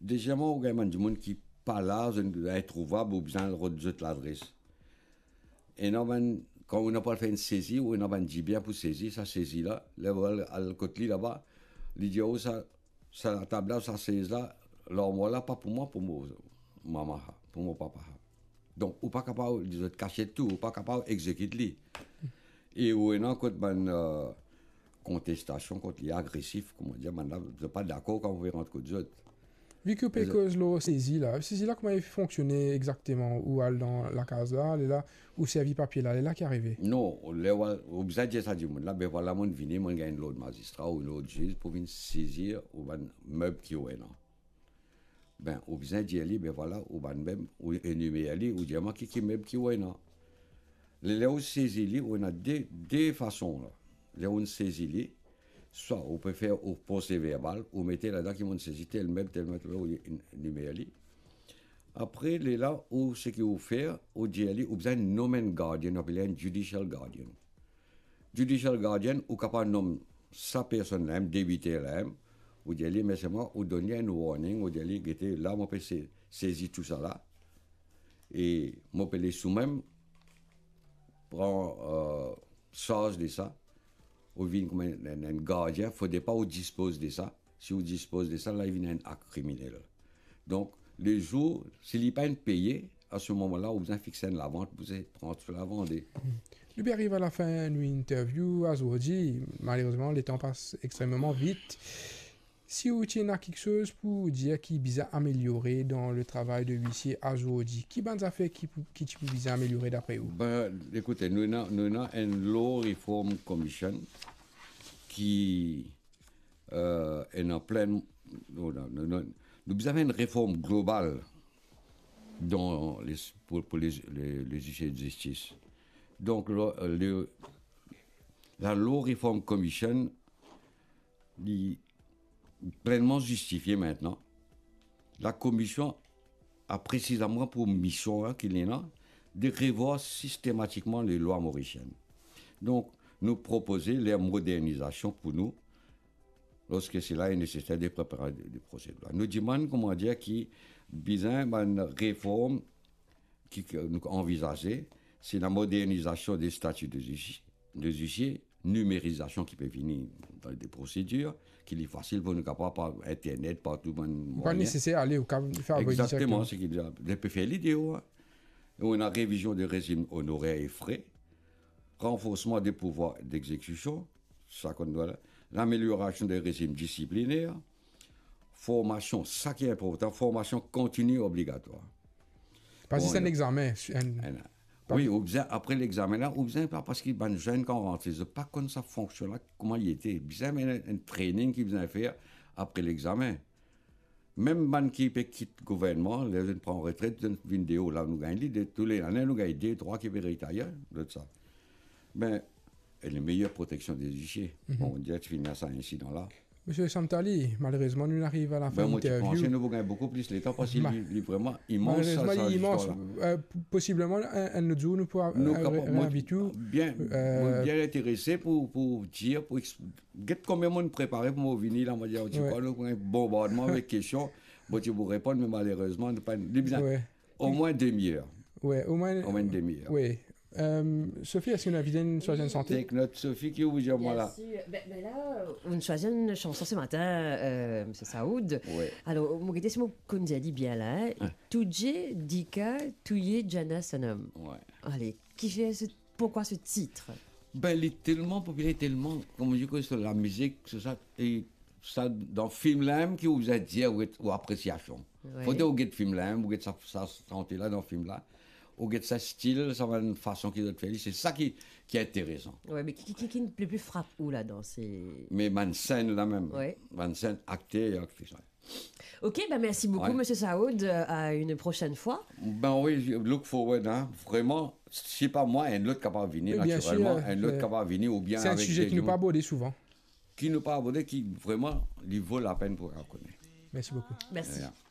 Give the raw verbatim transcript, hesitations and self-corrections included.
Dezieman, ou gagn bann dimoun ki pa la, zot introuvab, ou bizin al rod zot ladres. Ena bann, kan ou ena pou al fer enn sezi, ou ena bann dibien pou sezi, sa sezi la, ler ou al, al kot li laba, li dir ou sa, sa latab la, sa sez la, larmwar la, pa pou mwa, pou mo mama, pou mo papa. Donk, ou pa kapav, li zot kasiet tou, ou pa kapav exekit li. E ou ena kot bann, eh, kontestasion, kot li agresif, kouma dir, bann la, zot pa dakor kan ou pe rant kot zot. Vi ki ou pe koz lor sezi la, sezi la kouma li fonksione exakteman? Ou al dan lakaz la, lerla, ou servi papie la, lerla ki arive? Non, ler ou al, ou bizin dir sa dimoun la, be vwala, monn vini, monn gagn lord mazistra ou lord ziz pou vinn sezi ou bann meb ki ou ena. Be, ou bizin dir li, be vwala, ou bann meb, ou enimer li, ou dir mwa ki, ki meb ki ou ena. Ler ou sezi li, ou ena de, de fason la. Ler ou sezi li, swa ou pe fer ou proseverbal, ou mete ladan ki monn sezi tel meb, tel meb, ou enimer li. Apre, lerla, ou seki ou fer, ou dir li, ou bizin nom enn gardien, apel enn judicial guardian. Judicial guardian, ou kapav nom sa personn la mem, debiter la mem, ou dir li, me selman, ou donn li enn warning, ou dir li, gete, la, mo pe se-, sezi tousala, e mo pe les ou mem pran, eh, sarz de sa, ou vinn kouma enn, enn, enn gardien, fode pa ou dispoz de sa. Si ou dispoz de sa, la, li vinn enn akt kriminel. Donk, lezour, si li pa inn peye, a se moman la, ou bizin fixe enn lavant pou se pran so lavande. Hmm. Nou pe ariv a lafin nou interview azordi. Malerezman, letan pas extrememan vit. Si ou ti ena kiksoz pou dir ki bizin ameliore dan le travay de lisie azordi, ki bann zafer ki pou, ki ti pou bizin ameliore dapre ou? Be, ekoute, nou ena, nou ena enn Law Reform Commission ki, eh, ena plin, nou, nou, nou, nou, nou bizin fer enn reform global dan les, pou, pou les, les, les huissiers de justice. Donk, le, le, la Law Reform Commission, li plenman zistifie mintnan. Lakomision a presizeman pou mision la ki li ena, de revwar sistematikman les lois mauriciennes. Donk, nou propoze ler modernizasion pou nou, lorske sela est nécessaire de préparer des, des projets de loi. Nou dimann, kouma dir, ki bizin bann reform ki, ki nou anvizaze, se la modernizasion de stati de huissier, de huissier, nimerizasion ki pe vini dan de prosedir, ki li fasil pou nou kapav par internet, par tou bann mwayin. Pa neseser ale, ou kapav fer avoy direk. Exakteman, se ki li pe fer lide, wi. E ou ena revizion de rezim onorer e fre, ranforsman de pouvwar degzekision, sa konn nou la, lameliorasion de rezim disipliner, formasion, sa ki inportan, formasion kontini obligatwar. Pa zis enn examen, enn, enn, pa wi, ou bizin, apre lexamen la, ou bizin pa, parski bann zenn kan rantre, zot pa konn sa fonksion la, kouma li ete. Bizin enn, enn training ki bizin fer apre lexamen. Mem bann ki pe kit gouvernman, ler zot pran retret, zot vinn deor la, nou gagn li, de, tou le lane, nou gagn de, trwa ki pe retayer, lot sa. Be, e le meyer proteksion de huissier. Mhm. Bon, dir ti fini ar sa insidan la. Misie Samtali, malerezman, nou ariv a lafin interview. Be, mo ti panse nou pou gagn boukou plis letan, parski li, li vreman imans, sa, sa, listwar la. Malerezman, li imans. Eh, p-, posibleman, enn, enn lot zour, nou pou, eh, reinvit ou. Nou kapab, mo bien, mo bien interese pou, pou dir, pou exp-, Get konbien mo inn prepare pou mo vini la, mo dir, ti krwar nou pran bonbardman avek kestion, mo ti pou reponn, me malerezman, nou pa, li bizin omwin demi-er. Wi, omwin, omwin demi-er. Wi. Eh, Sophie, eski nou invit enn swazir enn sante? Take note, Sophie, ki ou dir mwa la? Bien sûr. Ben, ben la, nou swazir enn chanson se matin, eh, Misie Saoud. Wi. Alor, mo gete si mo konn dir li bien la, hein. Hein. Tujhe dikha, tu ye jana sanam. Wi. Ale, kifer se Pourquoi ce titre? Ben, li telman popiler, telman, kouma dir, ke so lamizik, so sa, e sa, dan fim la mem ki ou bizin dir ou, ou apresiasion. Wi. Fode ou get fim la mem, ou get sa, sa sante la dan fim la, ou get sa stil, sa bann fason ki zot fer li, se sa ki, ki interesan. Wi, me ki, ki, ki, ki le pli frap ou ladan, se... Me bann senn la mem, wi, bann senn, akter e aktris la. Ok, ben merci beaucoup, Misie Saoud. Euh, à une prochaine fois. Ben wi, look forward, hein. Vreman, si pa mwa, enn lot kapav vini, natirelman, enn lot kapav vini, oubien avek de dimoun. Bien sûr, euh, c'est un sujet qui nous pas abordé souvent. Ki nou pa aborde, ki vreman, li vo lapenn pou rakone. Merci beaucoup. Merci. De rien.